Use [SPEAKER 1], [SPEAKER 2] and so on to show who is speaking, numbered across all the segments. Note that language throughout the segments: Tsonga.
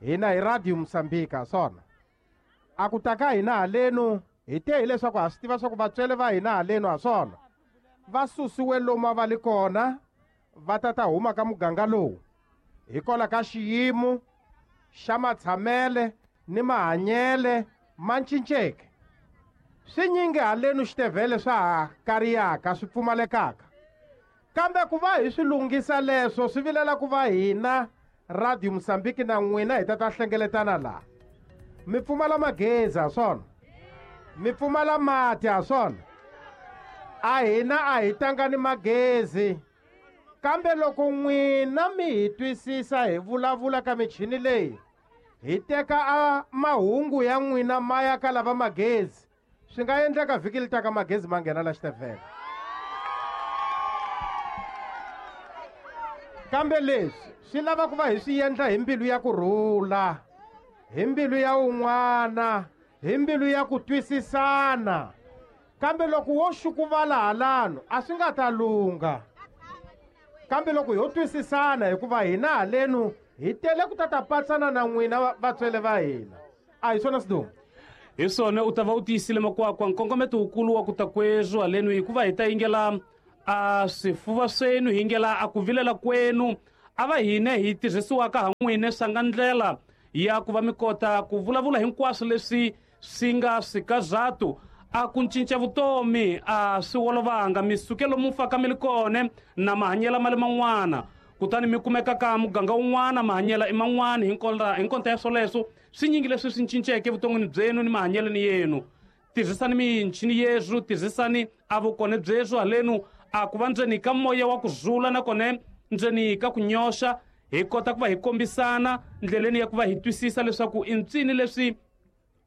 [SPEAKER 1] Hina hi Radio Mosambika swona. A ku ta ka hina halenu hi te hileswaku ha swi tiva swa ku vatswele va hina halenu ha swona. Va susiwe lomu a va li kona va ta ta huma ka muganga lowu hikwalaho ka xiyimo xa matshamele ni mahanyele ma cinceke. Swinyingi halenu xitevhele swa ha kariyaka swi pfumalekaka. Kambe ku va hi swi lunghisa leswo swi vilela ku va hina Radio Mosambiki na n'wina hi ta ta hlengeletana laha. Mi pfumala magezi ha swona? Mi pfumala mati ha swona? A hina a hi tangani magezi. Kambe loko n'wina mi hi twisisa hi vulavula ka michini leyi, hi teka a mahungu ya n'wina ma ya ka lava magezi. Swi nga endleka vhiki li taka magezi ma nghena la xitevhele. Kambe leswi swi lava ku va hi swi endla hi mbilu ya ku rhula, hi mbilu ya un'wana, hi mbilu ya ku twisisana. Kambe loko wo xukuvala halano a swi nga ta lungha. Kambe loko ho twisisana hikuva hina halenu hi tele ku ta ta patsana na n'wina vatswele va hina. A hi swona Sidumo?
[SPEAKER 2] Hi swona u ta va u tiyisile makwakwa. Nkongometo wukulu wa ku ta kweswo halenu hikuva hi ta yingela a swifuva swenu, hi yingela a ku vilela kwenu, a va hine hi tirhisiwaka ha n'wine swa nga ndlela ya ku va mi kota ku vulavula hinkwaswo leswi swi nga swikazatu. A ku cinca vutomi a swi olovanga, mi suke lomu faka mi li kone na mahanyela ma le man'wana, kutani mi kumeka ka muganga wun'wana mahanyela i man'wana. Hi nkonta ya swoleswo swi nyingi leswi swi cinceke vuton'wini byenu ni mahanyeleni yenu. Tirhisani michini yeswo, tirhisani a vukone byeswo halenu a ku va ndzeni ka moya wa ku zula nakona ndzeni ka ku nyoxa, hi kota ku va hi kombisana ndleleni ya ku va hi twisisa leswaku i ntsini leswi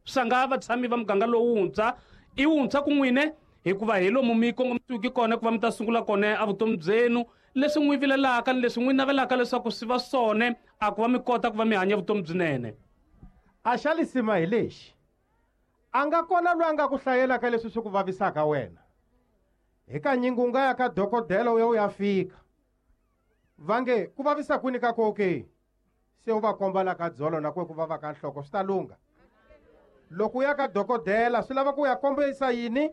[SPEAKER 2] swa nga vatshami va muganga lowuntshwa i wuntshwa ku n'wine, hikuva hi lomu mi kongomisiweke kona ku va mi ta sungula kona a vutomi byenu, leswi n'wi vilelaka ni leswi n'wi navelaka leswaku swi va swona a ku va mi kota ku va mi hanya vutomi byinene.
[SPEAKER 1] A xa lisima hi lexi, a nga kona loyi a nga ku hlayelaka leswi swi ku vavisaka wena. Hikanyingi u nga ya ka dokodela u ya u ya fika, va nge ku vavisa kwini ka koke, se u va komba la ka dzolo na kwe ku vava ka nhloko swi ta lungha. Loko u ya ka dokodela swi lava ku ya kombisa yini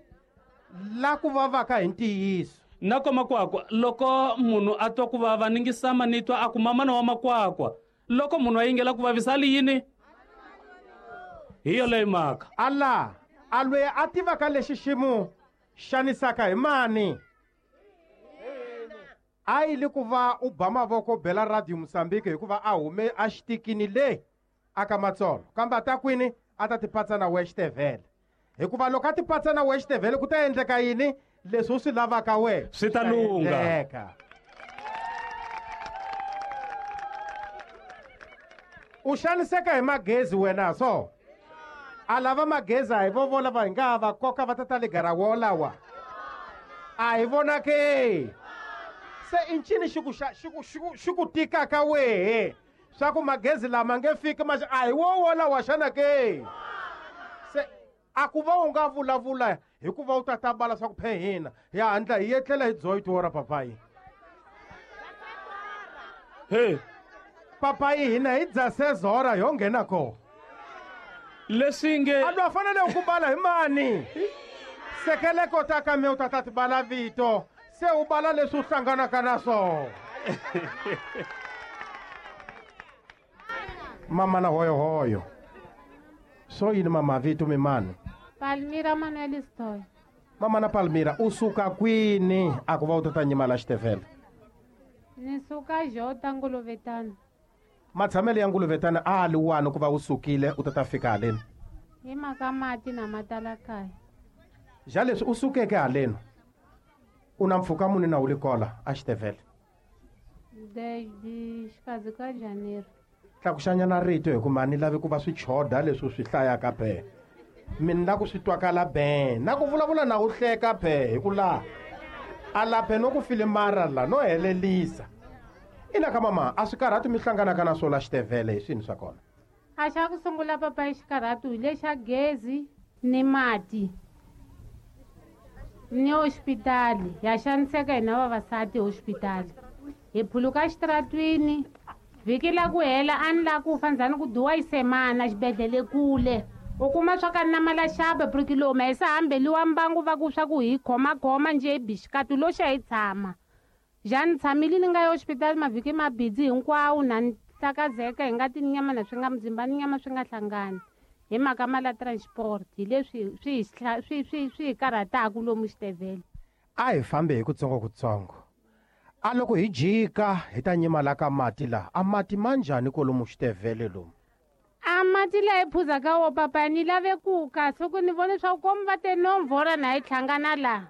[SPEAKER 1] la ku vavaka hi ntiyiso.
[SPEAKER 2] Na ko makwakwa, loko munhu a twa ku vava ni ngisama ni twa a ku mamana wa makwakwa, loko munhu a yingela ku vavisa a li yini? Hi yoleyo mhaka.
[SPEAKER 1] Ala a lweyi a tivaka lexi xi mu xanisaka hi mani? A yi li ku va u ba mavoko bela Radio Mosambiki hikuva a hume a xitikini le aka Matsolo, kambe a ta kwini? A ta tipatsa na wehe xitevhele. Hikuva loko a tipatsa na wehe xitevhele ku ta endleka yini? Leswi u swi lavaka wehe
[SPEAKER 2] swi ta lungha.
[SPEAKER 1] Endleka. U xaniseka hi magezi wena so? A lava magezi a hi vo vona va hi nga va koka va ta ta le garawo lawa. A hi vona ke? Se i ncini xi ku xa, xi ku, xi ku, xi ku tikaka wehe? Swa ku magezi lama nge fiki ma a hi wo wolawa xana ke? Se a ku va u nga vulavula hikuva u ta ta bala swa ku phe hina hi hatla hi etlela hi dzoyi ra papayi.
[SPEAKER 2] He.
[SPEAKER 1] Papayi hina hi dza sezora yo nghena kona.
[SPEAKER 2] Leswi nge
[SPEAKER 1] A lwa fanele ku bala hi mani? Sekeleko ta ka me u ta ta ti bala vito, se u bala leswi u hlanganaka na swona. Mama na hoyo hoyo. So yini mama vito mi mani?
[SPEAKER 3] Palmira Manuel Stoy.
[SPEAKER 1] Mama na Palmira, u suka kwini a ku va u ta ta nyima la xitevhele?
[SPEAKER 3] Ni suka Jota Nguluvetana.
[SPEAKER 1] Matshamelo ya Nguluvetana a li wani ku va u sukile u ta ta fika haleni?
[SPEAKER 3] Hi mhaka mati na matala kaya.
[SPEAKER 1] Ja leswi u sukeke haleni, u na mpfhuka muni na u li kola a xitevhele?
[SPEAKER 3] De, de xikarhi ka Janeiro.
[SPEAKER 1] Tlakuxanyana rito hikuva a ni lavi ku va swi choda leswi u swi hlayaka be. Mi ni la ku swi twakala be. Na ku vulavula na u hleka be hi ku laha. A laphe no ku filimara la no helelisa. Ina ka mama, a swi karhati mi hlanganaka na swo la xitevhele hi swini swa kona?
[SPEAKER 3] A xa ku sungula papa hi xikarhatu hi lexa gezi ni mati. Ni hospitali, ya xaniseka hina vavasati hospitali. Hi phuluka xitaratwini, Vhiki la ku hela a ni la ku fa ndzhani ku duwa yi semana xibedhlele kule. U kuma swa ka na malaxaba porque lomu a hi se hambeliwa mbangu va ku swa ku hi khomakhoma njhe hi bixikatu lo xa hi tshama. Njhani tshamile ni nga ya hospitali mavhiki mabidzi hinkwawo na ni hlakazeka hi nga ti nyama na swi nga muzimba ni nyama swi nga hlangani hi mhaka mala transport hi leswi swi hi karhataka lomu xitevhele.
[SPEAKER 1] A hi fambe hi kutsongokutsongo. A loko hi jika hi ta nyima la ka mati la, a mati ma njhani kolomu xitevhele lomu?
[SPEAKER 3] A mati la hi phuzaka wo papa ni lave ku ka soko ni vone swa ku komu va te nomvora na hi hlangana la.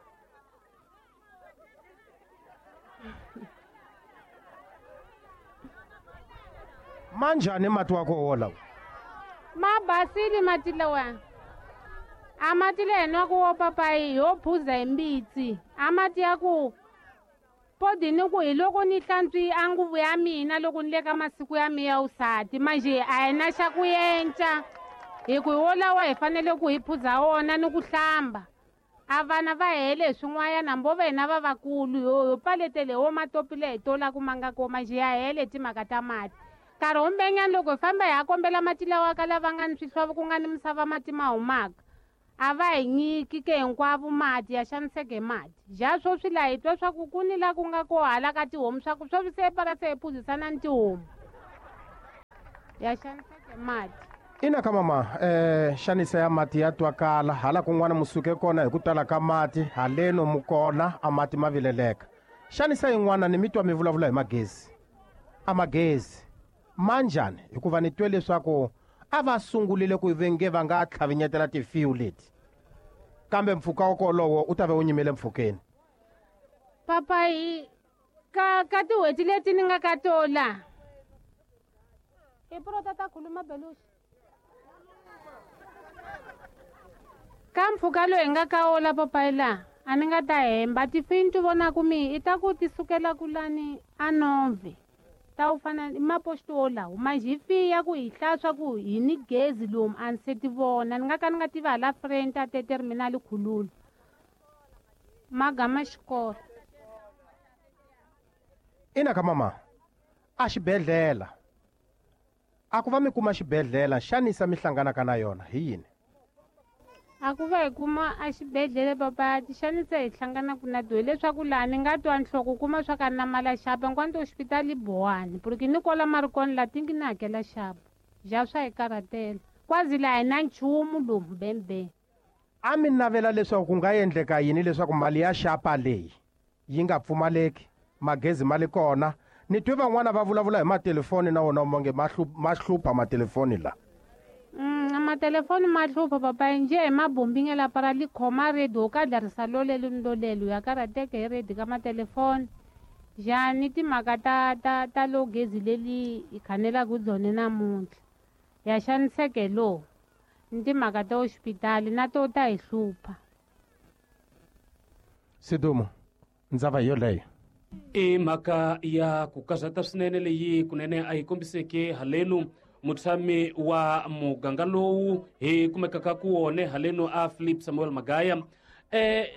[SPEAKER 1] Ma njhani mati wa koho wolawo?
[SPEAKER 3] Ma basile mati lawa. A mati la hi nwaka wo papayi ho phuza hi mbitsi. A mati ya ku podi ni ku hi loko ni hlantswi a nguvu ya mina loko ni le ka masiku ya mina ya vusati manjhe a hi na xa ku yenca hi ku hi wolawa hi fanele ku hi phuza wona ni ku hlamba. A vana va hele hi swin'wanyana mbo va hina vavakulu ho paletele wo matopi le hi tolaku ma nga ko manjhe ya hele timhaka ta mati. Nkarhi wumbenyana loko hi famba hi ya kombela mati lawa ka lava nga ni swihlovo ku nga ni misava mati ma humaka a va hi nyiki ke hinkwavo mati ya xaniseke mati. Ja sweswi laha hi twa swa ku ku ni la ku nga ko hala ka tihomu swa ku sweswi se para se hi phuzisana ni tihomu ya xaniseke mati.
[SPEAKER 1] Ina ka mama, xanisa ya mati ya twakala hala kun'wana mu suke kona hi ku tala ka mati haleno mu kona a mati ma vileleka. Xanisa yin'wana ni mi twa mi vulavula hi magezi. A magezi ma njhani? Hikuva ni twe leswaku a va sungulile ku venge va nga tlhavinyetela tifiyu leti, kambe mpfhuka wa kolowo u ta va u nyimele mpfhukeni.
[SPEAKER 3] Papa hi ka tin'hweti leti ni nga ka tola hi prota ta khuluma belushi ka mpfhuka lowu hi nga ka wola papayi laha a ni nga ta hemba tifiyu ni ti vonaku mi i ta ku ti sukela ku lani a Nove ta wu fana i maposto wolawo manjhe hi fiya ku hi hlaya swa ku hi ni gezi lomu a ni se ti vona ni nga ka ni nga tivi hala front a te terminal khululu magama xikolo.
[SPEAKER 1] Ina ka mama, a xibedhlele a ku va mi kuma xibedhlele xanisa mi hlanganaka na yona hi yini?
[SPEAKER 3] A ku va hi kuma a xibedhlele papa ti xanisa hi hlanganaka na to hileswaku laha ni nga twa nhloko kuma swa ka na mali ya xapa hinkwato hospitali bowani porque ni kwala marikona laha tingi ni hakela xapa ja swa hi karhatela kwazi laha hi na nchumu lomu bembe.
[SPEAKER 1] A mi navela leswaku ku nga endleka yini leswaku mali ya xapa leyi yi nga pfumaleki, magezi ma le kona? Ni twe van'wana va vulavula hi matelefoni na wona monge ma hlupha matelefoni la.
[SPEAKER 3] Matelefoni ma hlupha papa njhe hi mabombingela para li khoma redi wo ka dlarisa lolelo ni lolelo ya karhateka hi redi ka matelefoni. Njhani timhaka ta lo gezi leli hi khanelaka byona namuntlha ya xaniseke lo ni timhaka ta hoxipitali na to ta hi hlupha.
[SPEAKER 1] Sidumo, ndzava hi yoleyo.
[SPEAKER 2] I mhaka ya ku karhata swinene leyi kunene a yi kombiseke halenu mutshami wa muganga lowu hi kumekaka ku wone halenu a Philip Samuel Magaya.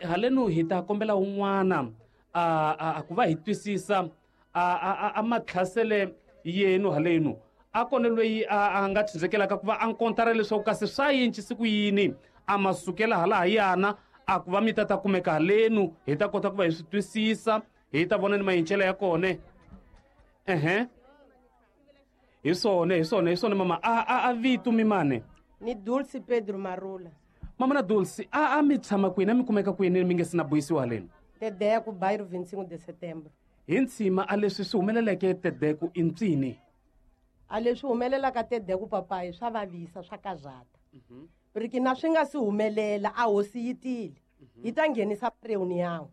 [SPEAKER 2] Halenu hi ta kombela un'wana a ku va hi twisisa a matlhasele yenu halenu a kona loyi a nga tshindzekelaka ku va a nkontara leswaku kasi swa yincisi ku yini a masukela hala ha yana a ku va mi ta kumeka halenu hi ta kota ku va hi swi twisisa hi ta vona ni mayincelo ya kona. Ehe, hi swona mama. A vito mi mane?
[SPEAKER 4] Ni Dulce Pedro Marula.
[SPEAKER 2] Mama na Dulce, a mi tshama kwini, a mi kumeka kwini mi nge si na buyisiwa haleni?
[SPEAKER 4] Tedeku, bairro 25 de Setembro.
[SPEAKER 2] Hi ntshima a leswi swi humeleleke Tedeku i ntsini?
[SPEAKER 4] A leswi humelelaka Tedeku papayi swa vavisa swa karhata. Porque na swi nga si humelela a hosi yi tile. Yi ta nghenisa reunião.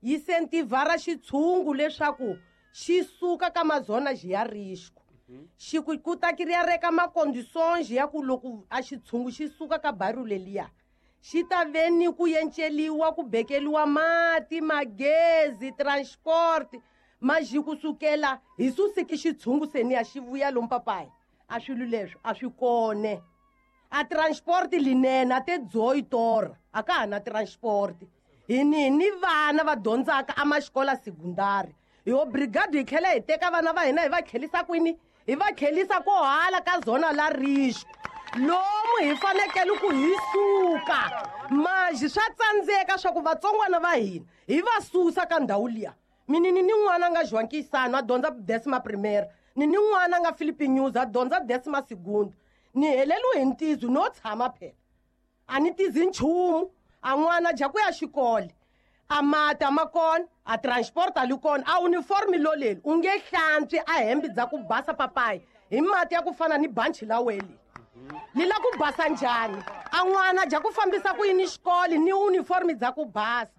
[SPEAKER 4] Yi sentivara xitshungu leswaku xi suka ka mazona xi ya risco. Xi ku ta kiriya reka macondições ya ku loko a xitshungu xi suka ka bairro leliya xi ta ve ni ku yenceliwa ku bekeliwa mati magezi transport maxi kusukela hi susiki xitshungu seniya xi vuya lomu papayi a swilo leswi a swi kone. A transport linene a te dzoyi tora a ka ha na transport hi ni vana va dyondzaka a maxikola secondary hi obrigado hi tlhela hi teka vana va hina hi va tlhelisa kwini Hi va tlhelisa ko hala ka zona la risco. Lomu hi fanekele ku hi suka. Manjhe swa tsandzeka swa ku vatsongwana va hina hi va susa ka ndhawu liya. Mina ni n'wana nga João Kisano a dyondza décima primeira. Ni ni n'wana nga Philippe News a dyondza décima segunda. Ni heleliwe hi ntizo no tshama phela. A ni tizi nchumu. A n'wana dya ku ya xikolo. A mati a ma kona, a transport a li kona, a uniform loleli u nge hlantswi a hembe dza ku basa papayi hi mati ya ku fana ni banchi la weli. Li la ku basa njhani? A n'wana dya ku fambisa ku yini xikolo ni uniform dza ku basa.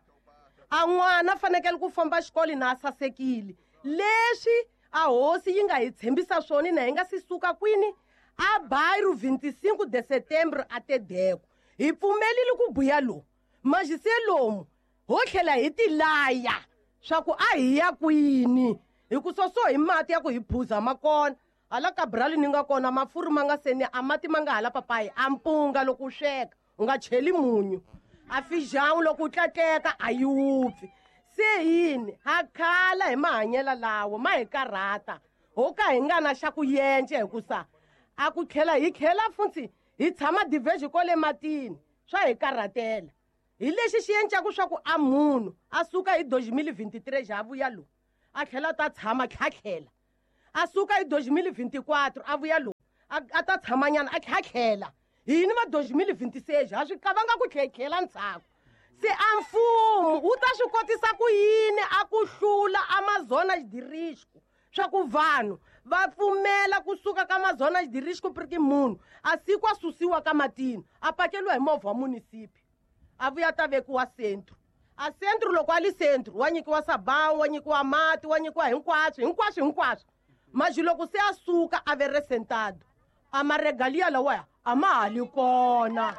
[SPEAKER 4] A n'wana fanekele ku famba xikolo na a sasekile. Leswi a hosi yi nga hi tshembisa swona na hi nga si suka kwini a bairro 25 de setembro a Tedeko. Hi pfumelile ku buya lomu. Manjhe se lomu ho tlhela hi tilaya swa ku a hi ya kwini hi ku soso hi mati ya ku hi phuza ma kona. Hala ka brali ni nga kona mafurha ma nga seni a mati ma nga hala papayi a mpunga loko u sweka u nga cheli munyu. A feijão loko u tlatleka a yi wupfi. Se yini ha khala hi mahanyelo lawo ma hi karhata ho ka hi nga na xa ku yence hikusa a ku tlhela hi tlhela futhi hi tshama diverge kwale matini swa hi karhatela. Hi lexi xi endlaku swa ku a munhu a suka hi 2023 xa vuya lowu a tlhela ta tshama tlhatlhela. A suka hi 2024 a vuya lowu a ta tshamanyana a tlhatlhela. Hini va 2026 ha swi kavanga ku tlhetlhela ndzhaku. Se a mfumo wu ta swi kotisa ku yini a ku hlula Amazonas de risco swa ku vanhu va pfumela kusuka ka Amazonas de risco porque munhu a siku a susiwa ka matini a pakeliwa hi movha wa munisipi a vuya ta vekiwa centro. A centro loko a li centro wa nyikiwa sabão, wa nyikiwa mati, wa nyikiwa hinkwaswo hinkwaswo hinkwaswo. Manjhe loko se a suka a ve resentado a maregalia lawaya a ma ha li kona.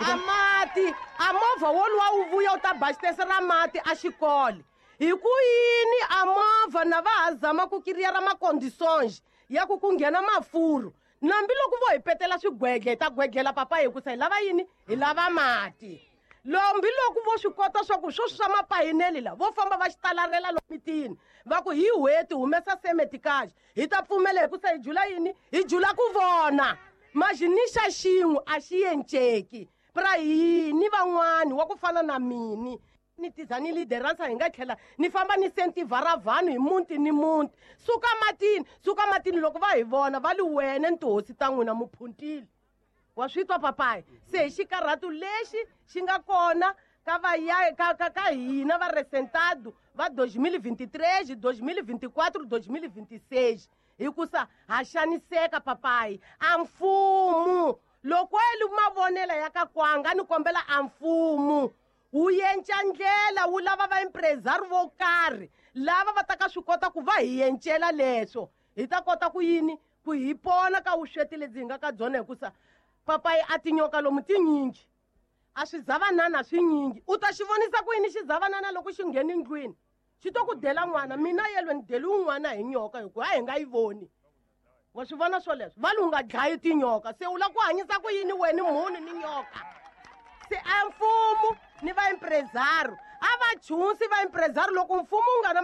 [SPEAKER 4] A mati a movha woluwa wu vuya wu ta bastese ra mati a xikolo. Hi ku yini a movha na va ha zama ku kiriyara macondições ya ku ku nghena mafurha. Nambi loko vo hi petela swigwedle hi ta gwedlela papa hikusa hi lava yini? Hi lava mati. Lombi loko vo swi kota swa ku sweswi swa mapayineli la vo famba va xitalarela lomu mitini va ku hi hweti humesa semetikaji hi ta pfumela hikusa hi jula yini? Hi jula ku vona. Manjhe ni xa xin'we a xi enceki. Pra yini van'wani wa ku fana na mini ni tiza ni liderança hi nga tlhela ni famba ni sentivhara vanhu hi muti ni muti. Suka matini, suka matini loko va hi vona va li wena ni tihosi ta n'wina muphuntile. Wa swi twa papayi? Se hi xikarhatu lexi xi nga kona ka va ka ka ka hina va resentado va 2023, 2024, 2026 hikusa ha xaniseka papayi. A mfumo loko eli mavonelo ya ka kwanga ni kombela a mfumo wu yenca ndlela wu lava va empresario vo karhi lava va ta ka swi kota ku va hi yencela leswo hi ta kota ku yini ku hi pona ka vusweti lebyi hi nga ka byona hikusa papayi a tinyoka lomu tinyingi a swizavanana swinyingi. U ta xi vonisa ku yini xizavanana loko xi nghena ndlwini xi to ku dela n'wana. Mina yelwe ni deli wun'wana hi nyoka hikuva a hi nga yi voni. Wa swi vona swoleswo va li u nga dlayi tinyoka se u lava ku hanyisa ku yini wena munhu ni nyoka. Se a mfumo ni va empresario a va chunsi va empresario loko mfumo wu nga na